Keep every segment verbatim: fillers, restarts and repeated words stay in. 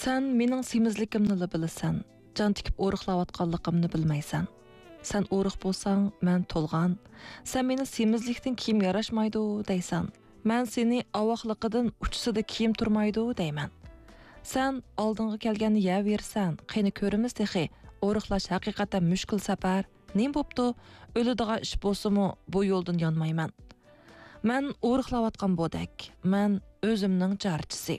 سەن مېنىڭ سېمىزلىكىمنىلا بىلىسەن، جان تىكىپ ئورۇقلاۋاتقانلىقىمنى بىلمەيسەن. سەن ئورۇق بولساڭ، مەن تولغان. سەن مېنى سېمىزلىكتىن كىيىم ياراشمايدۇ دەيسەن. مەن سېنى ئاۋاقلىقىدىن ئۇچىسىدا كىيىم تۇرمايدۇ دەيمەن. سەن ئالدىڭغا كەلگەننى يەۋېرىسەن، قېنى كۆرىمىز تېخى، ئورۇقلاش ھەقىقەتەن مۈشكۈل سەپەر. نېمە بوپتۇ؟ ئۆلىدىغان ئىش بولسىمۇ، بۇ يولدىن يانمايمەن. مەن ئورۇقلاۋاتقان بودەك، مەن ئۆزۈمنىڭ چارچىسى.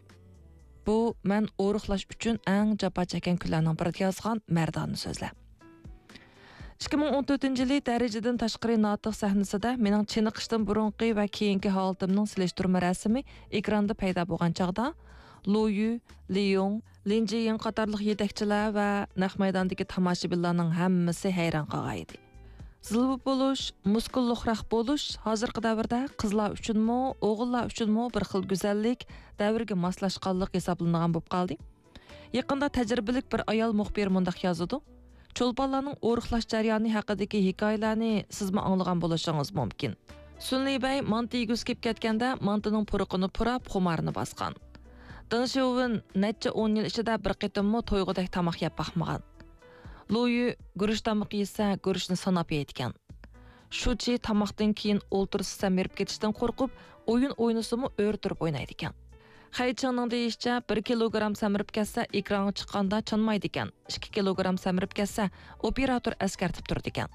بۇ مەن ئورۇقلاش ئۈچۈن ئەڭ جاپا چەككەن كۈنلەرنىڭ بىرىدە يازغان مەردانە سۆزلەر. ئىككى مىڭ ئون تۆتىنچى يىلى دەرىجىدىن تاشقىرى ناتىق سەھنىسىدە مېنىڭ چېنىقىشتىن بۇرۇنقى ۋە كېيىنكى ھالىتىمنىڭ سېلىشتۇرما رەسىمى ئېكراندا پەيدا بولغان چاغدا، لۇيۈ، لىيۇڭ، لىن جىيىڭ قاتارلىق يېتەكچىلەر ۋە نەق مەيداندىكى تاماشىبىنلارنىڭ ھەممىسى ھەيران قالغان ئىدى. زىلۋا بولۇش، مۇسكۇللۇقراق بولۇش ھازىرقى دەۋردە قىزلار ئۈچۈنمۇ، ئوغۇللار ئۈچۈنمۇ بىر خىل گۈزەللىك، دەۋرگە ماسلاشقانلىق ھېسابلىنىدىغان بولۇپ قالدى. يېقىندا تەجرىبىلىك بىر ئايال مۇخبىر مۇنداق يازىدۇ: «چولپانلارنىڭ ئورۇقلاش جەريانى ھەققىدىكى ھېكايىلەرنى سىزمۇ ئاڭلىغان بولۇشىڭىز مۇمكىن. سۈنلى بەي مانتا يېگۈسى كېلىپ كەتكەندە، مانتىنىڭ پۇرىقىنى پۇراپ، خۇمارىنى باسقان. دېڭ شياۋېن نەچچە ئون يىل ئىچىدە بىر قېتىممۇ تويغۇدەك تاماق يەپ باقمىغان. لۇيۈ گۈرۈچ تامىقى يېسە، گۈرۈچنى ساناپ يەيدىكەن. شۇچى تاماقتىن كېيىن ئولتۇرسا سەمرىپ كېتىشتىن قورقۇپ، ئويۇن ئوينىسىمۇ ئۆرە تۇرۇپ ئوينايدىكەن. خەي چىڭنىڭ دېيىشىچە، بىر كىلوگرام سەمرىپ كەتسە، ئېكرانغا چىققاندا چانمايدىكەن، ئىككى كىلوگرام سەمرىپ كەتسە، ئوپېراتور ئەسكەرتىپ تۇرىدىكەن.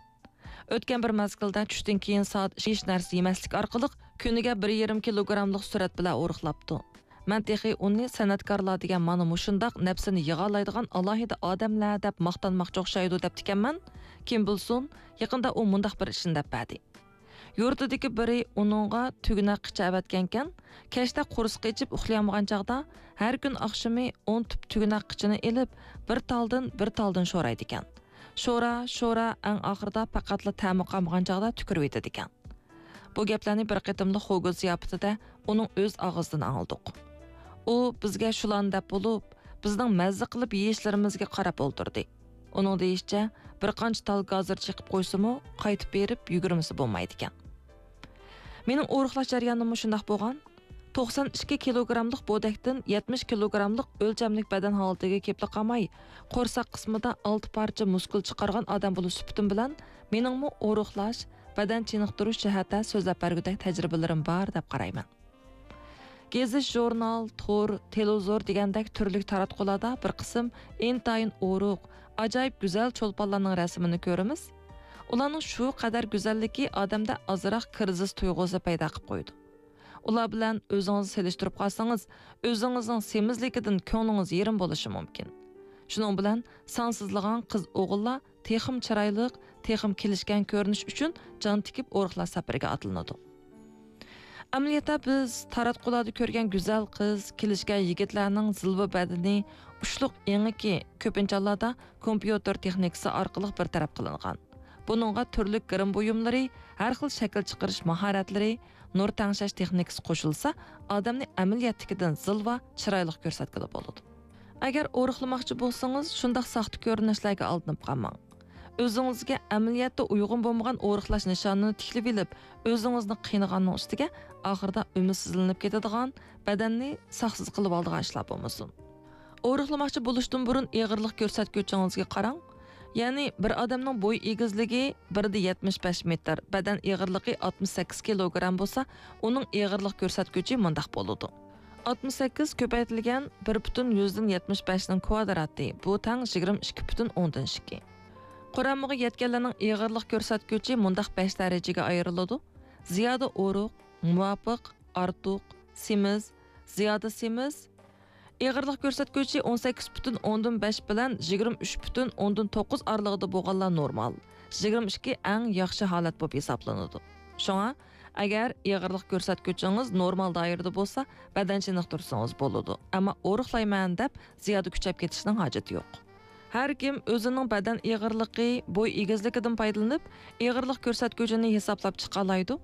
ئۆتكەن بىر مەزگىلدە چۈشتىن كېيىن سائەت ھېچ نەرسە يېمەسلىك ئارقىلىق كۈنىگە بىر يېرىم كىلوگراملىق سۈرئەت بىلەن ئورۇقلاپتۇ. مەن تېخى ئۇنى سەنئەتكارلار دېگەن مانا مۇشۇنداق نەپسىنى يىغالايدىغان ئالاھىدە ئادەملەر دەپ ماختانماقچى ئوخشايدۇ دەپتىكەنمەن. كىم بىلسۇن، يېقىندا ئۇ مۇنداق بىر ئىشنى دەپ بەردى. يۇرتىدىكى بىرى ئۇنىڭغا تۈگىنەك قىچا ئەۋەتكەنكەن، كەچتە قورسىقى ئېچىپ ئۇخلىيالمىغان چاغدا، ھەر كۈن ئاخشىمى ئون تۈپ تۈگىنەك قىچىنى ئېلىپ، بىر تالدىن، بىر تالدىن شورايدىكەن. شورا، شورا، ئەڭ ئاخىرىدا پەقەتلا تەمى قالمىغان چاغدا تۈكۈرۈۋېتىدىكەن. بۇ گەپلەرنى بىر قېتىملىق خوگو زىياپىتىدە ئۇنىڭ ئۆز ئاغزىدىن ئاڭلىدۇق. ئۇ بىزگە شۇلارنى دەپ بولۇپ، بىزنىڭ مەززە قىلىپ يېيىشلىرىمىزگە قاراپ ئولتۇردى. ئۇنىڭ دېيىشىچە، بىر قانچە تال گازىر چېقىپ قويسىمۇ، قايتىپ بېرىپ يۈگۈرمىسە بولمايدىكەن. مېنىڭ ئورۇقلاش جەريانىممۇ شۇنداق بولغان. توقسان ئىككى كىلوگراملىق بودەكتىن يەتمىش كىلوگراملىق ئۆلچەملىك بەدەن ھالىتىگە كېلىپلا قالماي، قورساق قىسمىدا ئالتە پارچە مۇسكۇل چىقارغان ئادەم بولۇش سۈپىتىم بىلەن، مېنىڭمۇ ئورۇقلاش، بەدەن چېنىقتۇرۇش جەھەتتە سۆزلەپ بەرگۈدەك تەجرىبىلىرىم بار دەپ قارايمەن. گېزىت، ژۇرنال، تور، تېلېۋىزور دېگەندەك تۈرلۈك تاراتقۇلاردا بىر قىسىم ئىنتايىن ئورۇق، ئاجايىپ گۈزەل چولپانلارنىڭ رەسىمىنى كۆرىمىز. ئۇلارنىڭ شۇ قەدەر گۈزەللىكى ئادەمدە ئازراق كىرىزىس تۇيغۇسى پەيدا قىلىپ قويىدۇ. ئۇلار بىلەن ئۆزىڭىزنى سېلىشتۇرۇپ قالسىڭىز، ئۆزىڭىزنىڭ سېمىزلىكىدىن كۆڭلىڭىز يېرىم بولۇشى مۇمكىن. شۇنىڭ بىلەن سانسىزلىغان قىز-ئوغۇللار تېخىمۇ چىرايلىق، تېخىمۇ كېلىشكەن كۆرۈنۈش ئۈچۈن جان تىكىپ ئورۇقلاش سەپىرىگە ئاتلىنىدۇ. ئەمەلىيەتتە بىز تاراتقۇلاردا كۆرگەن گۈزەل قىز، كېلىشكەن يىگىتلەرنىڭ زىلۋا بەدىنى، ئۇچلۇق ئېڭىكى كۆپىنچە ھاللاردا كومپيۇتېر تېخنىكىسى ئارقىلىق بىر تەرەپ قىلىنغان. بۇنىڭغا تۈرلۈك گىرىم بۇيۇملىرى، ھەر خىل شەكىل چىقىرىش ماھارەتلىرى، نۇر تەڭشەش تېخنىكىسى قوشۇلسا، ئادەمنى ئەمەلىيەتتىكىدىن زىلۋا، چىرايلىق كۆرسەتكىلى بولىدۇ. ئەگەر ئورۇقلىماقچى بولسىڭىز، شۇنداق ساختا كۆرۈنۈشلەرگە ئالدىنىپ قالماڭ. ئۆزىڭىزگە ئەمەلىيەتتە ئۇيغۇن بولمىغان ئورۇقلاش نىشانىنى تىكلىۋېلىپ، ئۆزىڭىزنى قىينىغاننىڭ ئۈستىگە، ئاخىرىدا ئۈمىدسىزلىنىپ كېتىدىغان، بەدەننى ساقسىز قىلىۋالىدىغان ئىشلار بولمىسۇن. ئورۇقلىماقچى بولۇشتىن بۇرۇن ئېغىرلىق كۆرسەتكۈچىڭىزگە قاراڭ. يەنى بىر ئادەمنىڭ بوي ئېگىزلىكى بىر دە يەتمىش بەش مېتىر، بەدەن ئېغىرلىقى ئاتمىش سەككىز كىلوگرام بولسا، ئۇنىڭ ئېغىرلىق كۆرسەتكۈچى مۇنداق بولىدۇ. ئاتمىش سەككىز كۆپەيتىلگەن بىر پۈتۈن يۈزدىن يەتمىش بەشنىڭ كۋادراتى، بۇ تەڭ يىگىرمە ئىككى پۈتۈن ئوندىن ئىككى. قۇرامىغا يەتكەنلەرنىڭ ئېغىرلىق كۆرسەتكۈچى مۇنداق بەش دەرىجىگە ئايرىلىدۇ: زىيادە ئورۇق، مۇۋاپىق، ئارتۇق، سېمىز، زىيادە سېمىز. ئېغىرلىق كۆرسەتكۈچى ئون سەككىز پۈتۈن ئوندىن بەش بىلەن يىگىرمە ئۈچ پۈتۈن ئوندىن توققۇز ئارىلىقىدا بولغانلار نورمال، يىگىرمە ئىككى ئەڭ ياخشى ھالەت بولۇپ ھېسابلىنىدۇ. شۇڭا، ئەگەر ئېغىرلىق كۆرسەتكۈچىڭىز نورمال دائىرىدە بولسا، بەدەن چېنىقتۇرسىڭىز بولىدۇ، ئەمما ئورۇقلايمەن دەپ زىيادە كۈچەپ كېتىشنىڭ ھاجىتى يوق. ھەر كىم ئۆزىنىڭ بەدەن ئېغىرلىقى، بوي ئېگىزلىكىدىن پايدىلىنىپ، ئېغىرلىق كۆرسەتكۈچىنى ھېسابلاپ چىقالايدۇ.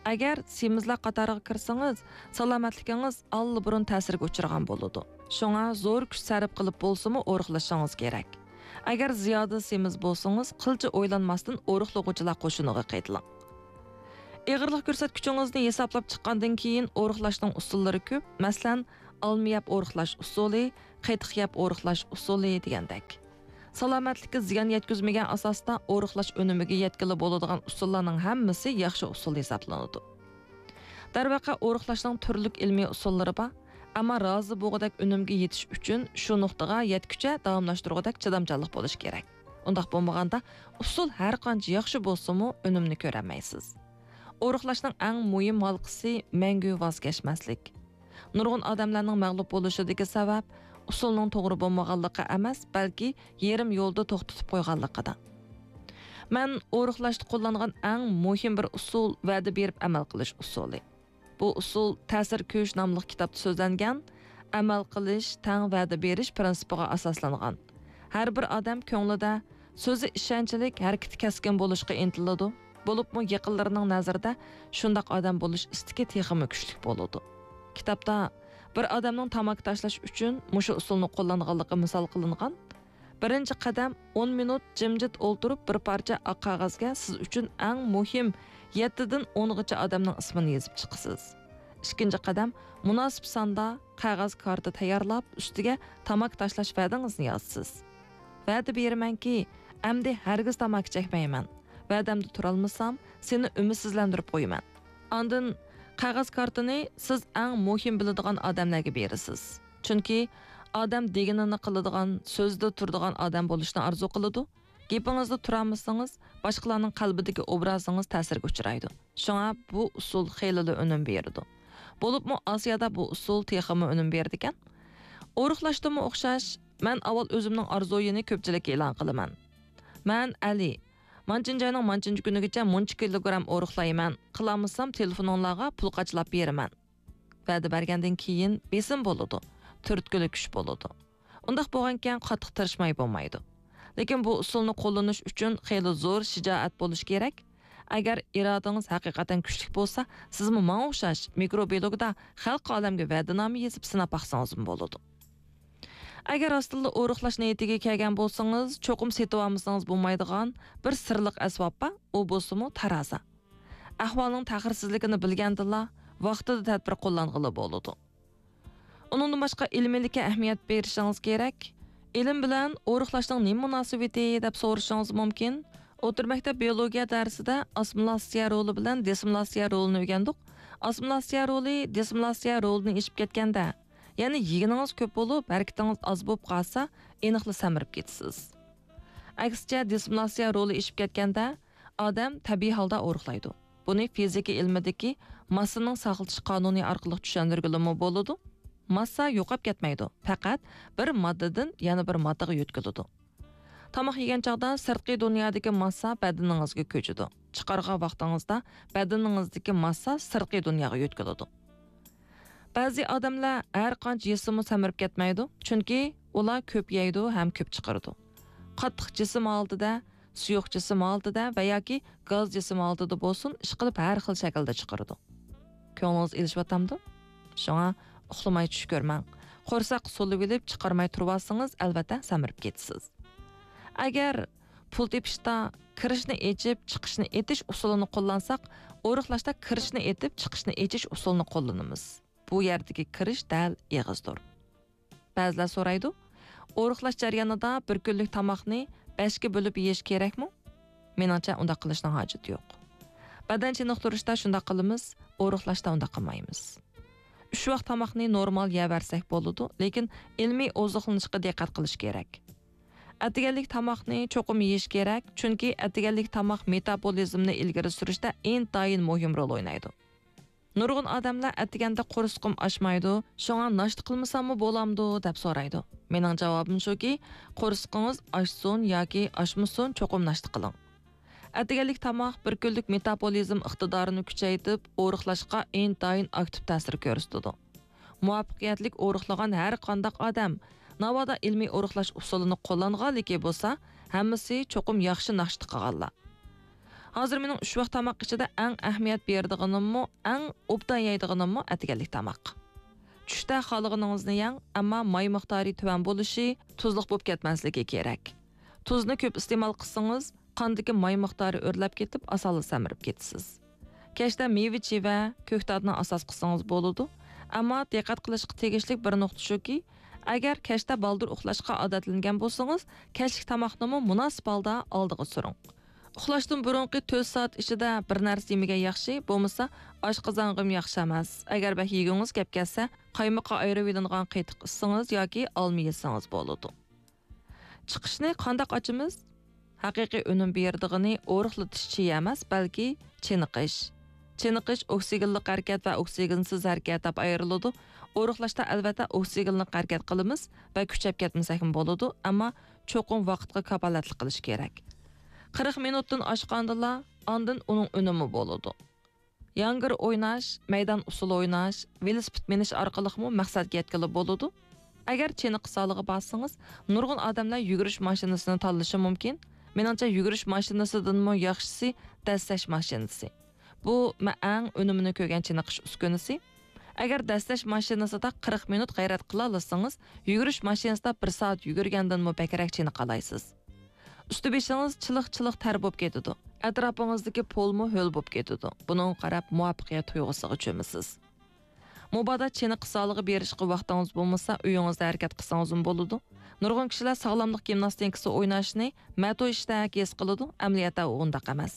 ئەگەر سېمىزلەر قاتارىغا كىرسىڭىز، سالامەتلىكىڭىز ئاللىبۇرۇن تەسىرگە ئۇچرىغان بولىدۇ. شۇڭا زور كۈچ سەرپ قىلىپ بولسىمۇ ئورۇقلىشىڭىز كېرەك. ئەگەر زىيادە سېمىز بولسىڭىز، قىلچە ئويلانماستىن ئورۇقلىغۇچىلار قوشۇنىغا قېتىلىڭ. ئېغىرلىق كۆرسەتكۈچىڭىزنى ھېسابلاپ چىققاندىن كېيىن، ئورۇقلاشنىڭ ئۇسۇللىرى كۆپ. مەسىلەن، ئالما يەپ ئورۇقلاش ئۇسۇلى، قېتىق يەپ ئورۇقلاش ئۇسۇلى دېگەندەك. سالامەتلىككە زىيان يەتكۈزمىگەن ئاساستا ئورۇقلاش ئۈنۈمىگە يەتكىلى بولىدىغان ئۇسۇللارنىڭ ھەممىسى ياخشى ئۇسۇل ھېسابلىنىدۇ. دەرۋەقە، ئورۇقلاشنىڭ تۈرلۈك ئىلمىي ئۇسۇللىرى بار، ئەمما رازى بولغۇدەك ئۈنۈمگە يېتىش ئۈچۈن شۇ نۇقتىغا يەتكۈچە داۋاملاشتۇرغۇدەك چىدامچانلىق بولۇشى كېرەك. ئۇنداق بولمىغاندا، ئۇسۇل ھەر قانچە ياخشى بولسىمۇ، ئۈنۈمنى كۆرەلمەيسىز. ئورۇقلاشنىڭ ئەڭ مۇھىم ھالقىسى مەڭگۈ ۋاز كەچمەسلىك. نۇرغۇن ئادەملەرنىڭ مەغلۇپ بولۇشىدىكى سەۋەب ئۇسۇلنىڭ توغرا بولمىغانلىقى ئەمەس، بەلكى يېرىم يولدا توختىتىپ قويغانلىقىدا. مەن ئورۇقلاشتا قوللانغان ئەڭ مۇھىم بىر ئۇسۇل ۋەدە بېرىپ ئەمەل قىلىش ئۇسۇلى. بۇ ئۇسۇل تەسىر كۈچ ناملىق كىتابتا سۆزلەنگەن ئەمەل قىلىش تەڭ ۋەدە بېرىش پىرىنسىپىغا ئاساسلانغان. ھەر بىر ئادەم كۆڭلىدە سۆزى ئىشەنچلىك، ھەرىكىتى كەسكىن بولۇشقا ئىنتىلىدۇ. بولۇپمۇ يېقىنلىرىنىڭ نەزىرىدە شۇنداق ئادەم بولۇش ئىستىكى تېخىمۇ كۈچلۈك بولىدۇ. كىتابتا بىر ئادەمنىڭ تاماكا تاشلاش ئۈچۈن مۇشۇ ئۇسۇلنى قوللانغانلىقى مىسال قىلىنغان. بىرىنچى قەدەم، ئون مىنۇت جىمجىت ئولتۇرۇپ، بىر پارچە ئاق قەغەزگە سىز ئۈچۈن ئەڭ مۇھىم يەتتىدىن ئونغىچە ئادەمنىڭ ئىسمىنى يېزىپ چىقىسىز. ئىككىنچى قەدەم، مۇناسىپ ساندا قەغەز كارتا تەييارلاپ، ئۈستىگە تاماكا تاشلاش ۋەدىڭىزنى يازىسىز. ۋەدە بېرىمەنكى، ئەمدى ھەرگىز تاماكا چەكمەيمەن. ۋەدەمدە تۇرالمىسام، سېنى ئۈمىدسىزلەندۈرۈپ قويىمەن. ئاندىن قەغەز كارتىنى سىز ئەڭ مۇھىم بىلىدىغان ئادەملەرگە بېرىسىز. چۈنكى ئادەم دېگىنىنى قىلىدىغان، سۆزىدە تۇرىدىغان ئادەم بولۇشنى ئارزۇ قىلىدۇ. گېپىڭىزدە تۇرالمىسىڭىز، باشقىلارنىڭ قەلبىدىكى ئوبرازىڭىز تەسىرگە ئۇچرايدۇ. شۇڭا بۇ ئۇسۇل خېلىلا ئۈنۈم بېرىدۇ. بولۇپمۇ ئاسىيادا بۇ ئۇسۇل تېخىمۇ ئۈنۈم بېرىدىكەن. ئورۇقلاشتىمۇ ئوخشاش، مەن ئاۋۋال ئۆزۈمنىڭ ئارزۇيىنى كۆپچىلىككە ئېلان قىلىمەن. مەن ئەلى. مانچىنچى ئاينىڭ مانچىنچى كۈنىگىچە مۇنچە كىلوگرام ئورۇقلايمەن. قىلالمىسام، تېلېفونۇڭلارغا پۇل قاچىلاپ بېرىمەن. ۋەدە بەرگەندىن كېيىن بېسىم بولىدۇ، تۈرتكىلىك كۈچ بولىدۇ. ئۇنداق بولغانىكەن، قاتتىق تىرىشماي بولمايدۇ. لېكىن بۇ ئۇسۇلنى قوللىنىش ئۈچۈن خېلى زور شىجائەت بولۇشى كېرەك. ئەگەر ئىرادىڭىز ھەقىقەتەن كۈچلۈك بولسا، سىزمۇ ماڭا ئوخشاش مىكروبىلوگدا خەلقى ئالەمگە ۋەدىنامە يېزىپ سىناپ باقسىڭىزمۇ بولىدۇ. ئەگەر راستتىنلا ئورۇقلاش نىيىتىگە كەلگەن بولسىڭىز، چوقۇم سېتىۋالمىسىڭىز بولمايدىغان بىر سىرلىق ئەسۋاب بار، ئۇ بولسىمۇ تارازا. ئەھۋالنىڭ تەخىرسىزلىكىنى بىلگەندىلا، ۋاقتىدا تەدبىر قوللانغىلى بولىدۇ. ئۇنىڭدىن باشقا ئىلمىيلىككە ئەھمىيەت بېرىشىڭىز كېرەك. ئىلىم بىلەن ئورۇقلاشنىڭ نېمە مۇناسىۋىتى دەپ سورىشىڭىز مۇمكىن. ئوتتۇرا مەكتەپ بىيولوگىيە دەرسىدە ئاسسىمىلياتسىيە رولى بىلەن دېسسىمىلياتسىيە رولىنى ئۆگەندۇق. ئاسسىمىلياتسىيە رولى دېسسىمىلياتسىيە رولىنى ئېشىپ كەتكەندە، يەنى يېگىنىڭىز كۆپ بولۇپ، ھەرىكىتىڭىز ئاز بولۇپ قالسا، ئېنىقلا سەمرىپ كېتىسىز. ئەكسىچە، دېسسىمىلياتسىيە رولى ئېشىپ كەتكەندە، ئادەم تەبىئىي ھالدا ئورۇقلايدۇ. بۇنى فىزىكا ئىلمىدىكى ماسسىنىڭ ساقلىتىش قانۇنى ئارقىلىق چۈشەندۈرگىلىمۇ بولىدۇ. ماسسا يوقاپ كەتمەيدۇ، پەقەت بىر ماددىدىن يەنە بىر ماددىغا يۆتكىلىدۇ. تاماق يېگەن چاغدا سىرتقى دۇنيادىكى ماسسا بەدىنىڭىزگە كۆچىدۇ. چىقارغان ۋاقتىڭىزدا بەدىنىڭىزدىكى ماسسا سىرتقى دۇنياغا يۆتكىلىدۇ. بەزى ئادەملەر ھەر قانچە يېسىمۇ سەمرىپ كەتمەيدۇ، چۈنكى ئۇلار كۆپ يەيدۇ ھەم كۆپ چىقىرىدۇ. قاتتىق جىسىم ھالىتىدە، سۇيۇق جىسىم ھالىتىدە ۋە ياكى گاز جىسىم ھالىتىدە بولسۇن، ئىشقىلىپ ھەر خىل شەكىلدە چىقىرىدۇ. كۆڭلىڭىز ئېلىشىۋاتامدۇ؟ شۇڭا ئۇخلىماي چۈش كۆرمەڭ. قورساق سولىۋېلىپ چىقارماي تۇرۇۋالسىڭىز، ئەلۋەتتە سەمرىپ كېتىسىز. ئەگەر پۇل تېپىشتا كىرىشنى ئېچىپ، چىقىشنى ئېتىش ئۇسۇلىنى قوللانساق، ئورۇقلاشتا كىرىشنى ئېتىپ، چىقىشنى ئېچىش ئۇسۇلىنى قوللىنىمىز. بۇ يەردىكى كىرىش دەل ئېغىزدۇر. بەزىلەر سورايدۇ، ئورۇقلاش جەريانىدا بىر كۈنلۈك تاماقنى بەشكە بۆلۈپ يېيىش كېرەكمۇ؟ مېنىڭچە، ئۇنداق قىلىشنىڭ ھاجىتى يوق. بەدەن چېنىقتۇرۇشتا شۇنداق قىلىمىز، ئورۇقلاشتا ئۇنداق قىلمايمىز. ئۈچ ۋاق تاماقنى نورمال يەۋەرسەك بولىدۇ، لېكىن ئىلمىي ئوزۇقلىنىشقا دىققەت قىلىش كېرەك. ئەتىگەنلىك تاماقنى چوقۇم يېيىش كېرەك، چۈنكى ئەتىگەنلىك تاماق مېتابولىزمنى ئىلگىرى سۈرۈشتە ئىنتايىن مۇھىم رول ئوينايدۇ. نۇرغۇن ئادەملەر ئەتىگەندە قورسىقىم ئاچمايدۇ، شۇڭا ناشتا قىلمىساممۇ بولامدۇ دەپ سورايدۇ. مېنىڭ جاۋابىم شۇكى، قورسىقىڭىز ئاچسۇن ياكى ئاچمىسۇن، چوقۇم ناشتا قىلىڭ. ئەتىگەنلىك تاماق بىر كۈنلۈك مېتابولىزم ئىقتىدارىنى كۈچەيتىپ، ئورۇقلاشقا ئىنتايىن ئاكتىپ تەسىر كۆرسىتىدۇ. مۇۋەپپەقىيەتلىك ئورۇقلىغان ھەر قانداق ئادەم، ناۋادا ئىلمىي ئورۇقلاش ئۇسۇلىنى قوللانغانلىكى بولسا، ھەممىسى چوقۇم ياخشى ناشتا قىلغانلار. ھازىر مېنىڭ ئۈچ ۋاق تاماق ئىچىدە ئەڭ ئەھمىيەت بېرىدىغىنىممۇ، ئەڭ ئوبدان يەيدىغىنىممۇ ئەتىگەنلىك تاماق. چۈشتە خالىغىنىڭىزنى يەڭ، ئەمما ماي مىقدارى تۆۋەن بولۇشى، تۇزلۇق بولۇپ كەتمەسلىكى كېرەك. تۇزنى كۆپ ئىستېمال قىلسىڭىز، قاندىكى ماي مىقدارى ئۆرلەپ كېتىپ، ئاسانلا سەمرىپ كېتىسىز. كەچتە مېۋە-چېۋە، كۆكتاتنى ئاساس قىلسىڭىز بولىدۇ، ئەمما دىققەت قىلىشقا تېگىشلىك بىر نۇقتا شۇكى، ئەگەر كەچتە بالدۇر ئۇخلاشقا ئادەتلەنگەن بولسىڭىز، كەچلىك تاماقنىمۇ مۇناسىپ ھالدا ئالدىغا سۈرۈڭ. ئۇخلاشتىن بۇرۇنقى تۆت سائەت ئىچىدە بىر نەرسە يېمىگەن ياخشى، بولمىسا ئاشقازانغىمۇ ياخشى ئەمەس. ئەگەر بەك يېگۈڭىز كەپ كەلسە، قايمىقى ئايرىۋېلىنغان قېتىق ئىچسىڭىز ياكى ئالما يېسىڭىز بولىدۇ. چىقىشنى قانداق ئاچىمىز؟ ھەقىقىي ئۈنۈم بېرىدىغىنى ئورۇقلىتىش چېيى ئەمەس، بەلكى چېنىقىش. چېنىقىش ئوكسىگېنلىق ھەرىكەت ۋە ئوكسىگېنسىز ھەرىكەت دەپ ئايرىلىدۇ. ئورۇقلاشتا ئەلۋەتتە ئوكسىگېنلىق ھەرىكەت قىلىمىز ۋە كۈچەپ كەتمىسەكمۇ بولىدۇ، ئەمما چوقۇم ۋاقىتقا كاپالەتلىك قىلىش كېرەك. قىرىق مىنۇتتىن ئاشقاندىلا، ئاندىن ئۇنىڭ ئۈنۈمى بولىدۇ. ياڭگىر ئويناش، مەيدان ئۇسسۇلى ئويناش، ۋېلىسىپىت مىنىش ئارقىلىقمۇ مەقسەتكە يەتكىلى بولىدۇ. ئەگەر چېنىقىش زالىغا بارسىڭىز، نۇرغۇن ئادەملەر يۈگۈرۈش ماشىنىسىنى تاللىشى مۇمكىن. مېنىڭچە، يۈگۈرۈش ماشىنىسىدىنمۇ ياخشىسى دەسسەش ماشىنىسى. بۇ مەن ئەڭ ئۈنۈمىنى كۆرگەن چېنىقىش ئۈسكۈنىسى. ئەگەر دەسسەش ماشىنىسىدا قىرىق مىنۇت غەيرەت قىلالىسىڭىز، يۈگۈرۈش ماشىنىسىدا بىر سائەت يۈگۈرگەندىنمۇ بەكرەك چېنىقالايسىز. ئۈستى بېشىڭىز چىلىق-چىلىق تەر بولۇپ كېتىدۇ. ئەتراپىڭىزدىكى پولمۇ ھۆل بولۇپ كېتىدۇ. بۇنىڭغا قاراپ مۇۋەپپەقىيەت تۇيغۇسىغا چۆمىسىز. مۇبادا چېنىقىش زالىغا بېرىشقا ۋاقتىڭىز بولمىسا، ئۆيىڭىزدە ھەرىكەت قىلسىڭىزمۇ بولىدۇ. نۇرغۇن كىشىلەر ساغلاملىق گىمناستىكىسى ئويناشنى مەتو ئىشتەك ھېس قىلىدۇ، ئەمەلىيەتتە ئۇ ئۇنداق ئەمەس.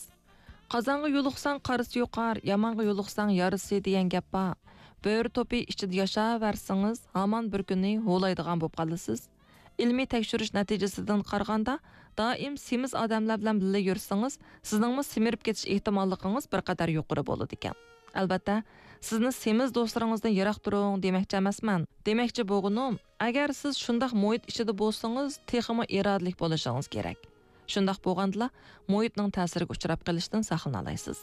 قازانغا يولۇقساڭ قارىسى يۇقار، يامانغا يولۇقساڭ يارىسى دېگەن گەپ بار. بۆرە توپى ئىچىدە ياشاۋەرسىڭىز، ھامان بىر كۈنى ھۇۋلايدىغان بولۇپ قالىسىز. ئىلمىي تەكشۈرۈش نەتىجىسىدىن قارىغاندا، دائىم سېمىز ئادەملەر بىلەن بىللە يۈرسىڭىز، سىزنىڭمۇ سېمىرىپ كېتىش ئېھتىماللىقىڭىز بىر قەدەر يۇقىرى بولىدىكەن. ئەلۋەتتە، سىزنى سېمىز دوستلىرىڭىزدىن يىراق تۇرۇڭ دېمەكچى ئەمەسمەن. دېمەكچى بولغىنىم، ئەگەر سىز شۇنداق مۇھىت ئىچىدە بولسىڭىز، تېخىمۇ ئىرادىلىك بولۇشىڭىز كېرەك. شۇنداق بولغاندىلا، مۇھىتنىڭ تەسىرىگە ئۇچراپ قېلىشتىن ساقلىنالايسىز.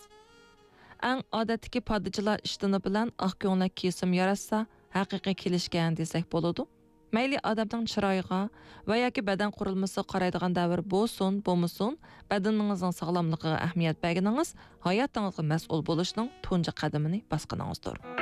ئەڭ ئادەتتىكى پادىچىلار ئىشتىنى بىلەن ئاق كۆڭلەك كىيسىمۇ ياراشسا، ھەقىقىي كېلىشكەن دېسەك بولىدۇ. مەيلى ئادەمنىڭ چىرايىغا ۋە ياكى بەدەن قۇرۇلمىسىغا قارايدىغان دەۋر بولسۇن، بولمىسۇن، بەدىنىڭىزنىڭ ساغلاملىقىغا ئەھمىيەت بەرگىنىڭىز ھاياتىڭىزغا مەسئۇل بولۇشنىڭ تۇنجى قەدىمىنى باسقىنىڭىزدۇر.